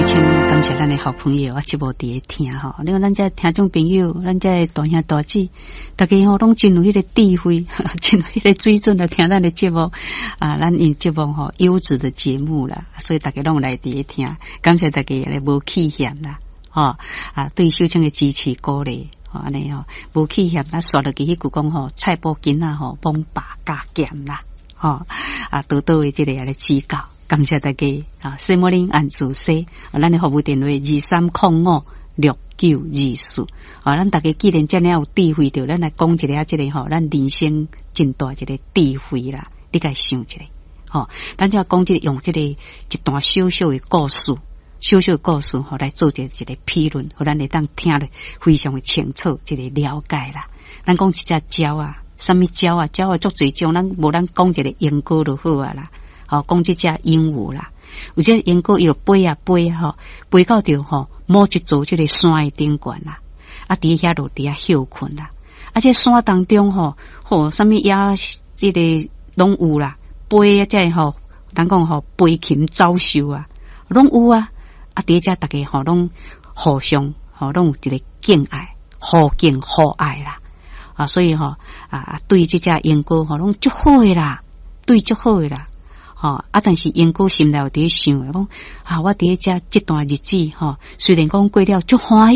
秀清感謝咱的好朋友啊，節目佇咧聽吼。你看咱這聽眾朋友，咱這大兄大姊，大家吼攏真有彼個智慧，真有彼個水準來聽咱的節目啊。咱𪜶節目吼優質的節目啦，所以大家攏來佇咧聽，感謝大家來無棄嫌啦，吼啊，對秀清的支持鼓勵，吼按呢吼無棄嫌。咱煞落去彼句講吼，菜脯囡仔吼，罔飽加減啦，吼啊，多多的這个來指教。感謝大家啊！西摩林按主西，咱的服務電話23056924。啊，咱大家既然遮爾有智慧，著咱來講一下這个吼，咱人生真大一個智慧啦。你共想一下，吼，咱就講這個用這個一段小小的故事，小小的故事吼來做一個一個批論，予咱會當聽得非常的清楚，一個了解啦。咱講一隻鳥啊，啥物鳥啊？鳥啊足濟種，咱無咱講一個鸚鵡就好啊啦。吼，講這隻鸚鵡啦，有隻鸚鵡伊就飛啊飛啊吼，飛到著吼某一座這个山的頂懸啦，啊，佇遐就佇遐歇睏啦。啊，這山當中吼，吼，啥物野這个攏有啦，飛啊，這个吼，人講吼，飛禽走獸啊，攏有啊。啊，佇遮逐家吼攏互相吼攏有一個敬愛，互敬互愛啦。啊，所以吼啊，對這隻鸚鵡吼攏足好的啦，對足好的啦。吼啊！但是鸚鵡心內有佇咧想，講啊，我佇咧遮這段日子吼，雖然講過了足歡喜。